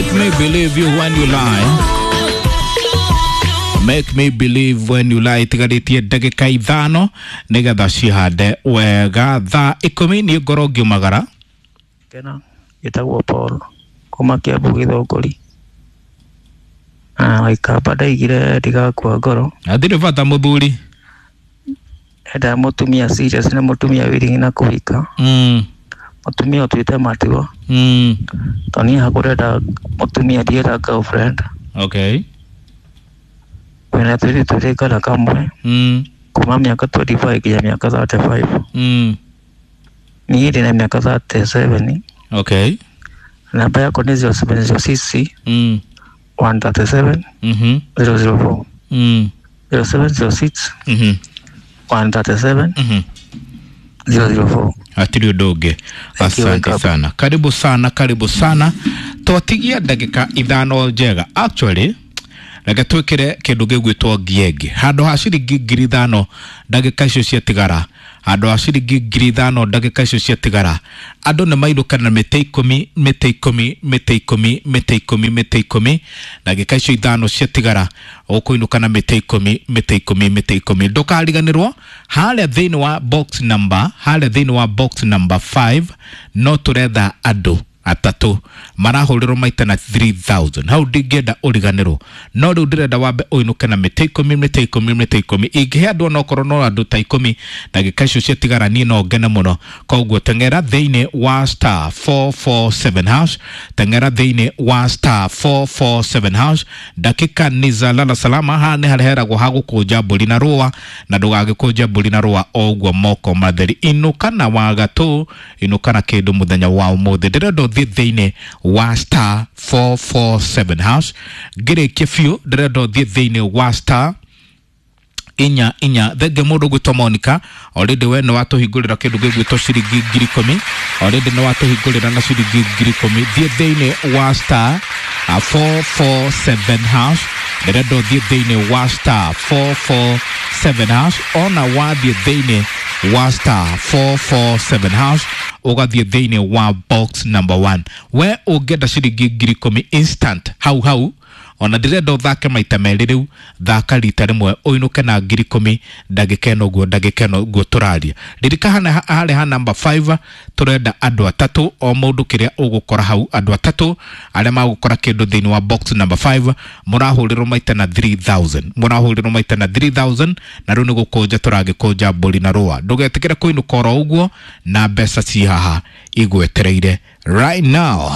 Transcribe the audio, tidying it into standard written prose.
Make me believe you when you lie. Make me believe when you lie. Tigarĩtie ndagĩka 5 nĩgetha cihande wega thaa 10 niĩ ngorwo ngiumagara. Kena gĩtagwo Paul kuma Kiambu Gĩthũngũri. Na Waikamba ndaigire ndigakua ngoro. Hatirĩ bata mũthuri. Endaga mũtumia serious na mũtumia willing na kũhika. Mũtumia ũtuĩte matua. Tondũ niĩ hakwa ndĩrenda mũtumia, ndirenda girlfriend. Okay. Kwĩna tũirĩtu twĩrĩ kana kamwe kuma mĩaka 25 nginya mĩaka 35. Niĩ ndĩna mĩaka 37. Okay. Namba yakwa nĩ 0706 137 004. 0706 137 004. Hatirĩ ũndũ ũngĩ. Thank you, Asante wake up. sana, karibu sana, karibu sana. Twatigia ndagĩka 5 njega. Actually reke twĩkĩre kĩndũ gĩgwĩtwo ngiengĩ handũ ha ciringi 5,000 ndagĩka icio ciatigara, handũ ha ciringi 5,000 ndagĩka icio ciatigara, andũ nĩ mainũka na mĩtĩ 10, mĩtĩ 10, mĩtĩ 10, mĩtĩ 10, mĩtĩ 10. Ndagĩka icio 5 ciatigara ũkũinũka na mĩtĩ 10, mĩtĩ 10, mĩtĩ 10. Ndũkariganĩrwo harĩa thĩinĩ wa box number, harĩa thĩinĩ wa box number 5 no tũretha andũ atatũ marahũrĩrwo maita na 3000. Hau ndingĩenda ũriganĩrwo, no rĩu ndĩrenda wambe ũinũke na mĩtĩ 10, mĩtĩ 10, mĩtĩ 10. Ingĩhe andũ onokorwo no andũ ta 10 ndagĩka icio ciatigara, niĩ no ngene mũno. Koguo teng'era thĩinĩ wa star 447 hash, teng'era thĩinĩ wa star 447 hash. Ndakika ni za lala salama. Haha nĩ harĩa heragwo ha gũkũnja mbũri na rũa, na ndũgagĩkũnje mbũri na rũa o ũguo moko matheri. Inũka na wagatũ, inũka na kĩndũ mũthenya wa ũmũthĩ. Ndĩrenda ũthiĩ thĩinĩ wa star 447 hash. Ngĩrĩkie biũ, ndĩrenda ũthiĩ thĩinĩ wa star inya inya. Thenge mũndũ gwĩtwo Monica, already we nĩ watũhingũrĩra kĩndũ gĩgwĩtwo ciringi 10,000. Already nĩ watũhingũrĩra na ciringi 10,000. Thiĩ thĩinĩ wa star 447 hash. Ndĩrenda ũthiĩ thĩinĩ wa star 447 hash. Ona wathiĩ thĩinĩ wa star 447 hash, ũgathiĩ thĩinĩ wa box number 1. We ũngĩenda ciringi 10,000 instant hau hau, ona ndĩrenda ũthake maita merĩ rĩu, thaka rita rĩmwe ũinũke na 10,000 ndagĩka ĩno ũguo, ndagĩka ĩno ũguo tũraria. Ririkana harĩa ha number 5 tũrenda andũ atatũ, o mũndũ kĩrĩa ũgũkora hau, andũ atatũ arĩa magũkora kĩndũ thĩinĩ wa box number 5 mũrahũrĩrwo maita na 3000, mũrahũrĩrwo maita na 3000. Na rĩu nĩ gũkũnja tũragĩkũnja mbũri na rũa. Ndũgetĩkĩre kũinũka oro ũguo na mbeca ci haha igwetereire right now.